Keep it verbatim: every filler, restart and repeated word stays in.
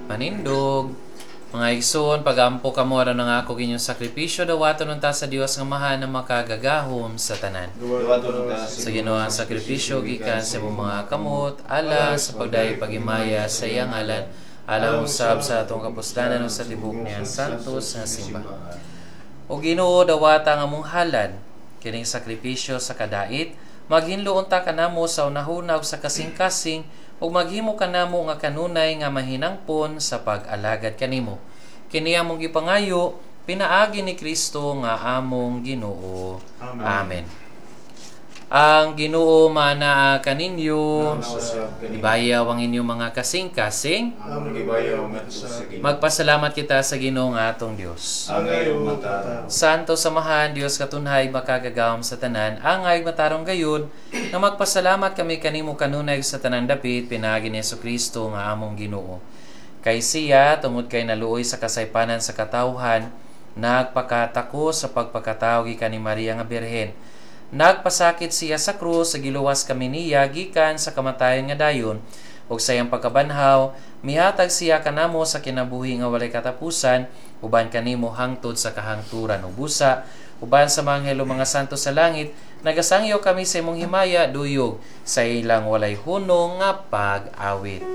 Manindog. Mga igsoon, pagampo kamo aron ang akong inyong sakripisyo, dawaton unta sa Dios nga Amahan na makagagahom sa tanan. Dawaton unta Sa Ginoo ang sakripisyo gikan sa imong mga kamot, alang sa pagdayeg paghimaya sa iyang ngalan, alang usab sa atong kapuslanan ug sa tibok niyang santos nga simbahan. O Ginoo, dawata ang among halad kining sakripisyo sa kadait, maghinlo unta kanamo sa hunahuna ug sa kasing-kasing ug maghimo kanamo nga kanunay nga mahinangpon sa pag-alagad kanimo. Kini among gipangayo pinaagi ni Kristo nga among Ginoo. Amen. Amen. Ang Ginoo manaa kaninyo. Usab kanimo. Ibayaw ang inyong mga kasing-kasing. Among gibayaw ngadto sa Ginoo. Magpasalamat kita sa Ginoo nga atong Dios. Angay ug matarong. Santo Samahan, Dios katunhay, makagagahom sa tanan, angay matarong gayud, nga magpasalamat kami kanimo kanunay sa tanang dapit, pinaagi ni Kristo nga among Ginoo. Kay siya, tungod kay naluoy sa kasaypanan sa katawhan, nagpakatako sa pagpakatawo gikan ni Maria nga Birhen. Nagpasakit siya sa krus, sa giluwas kami niya gikan sa kamatayon nga dayon, ug sa iyang pagkabanhaw, mihatag siya kanamo sa kinabuhi nga walay katapusan, uban kanimo hangtod sa kahangturan ug busa, uban sa mga anghel ug mga santo sa langit, nagasangyaw kami sa imong himaya duyog sa ilang walay hunong nga pag-awit.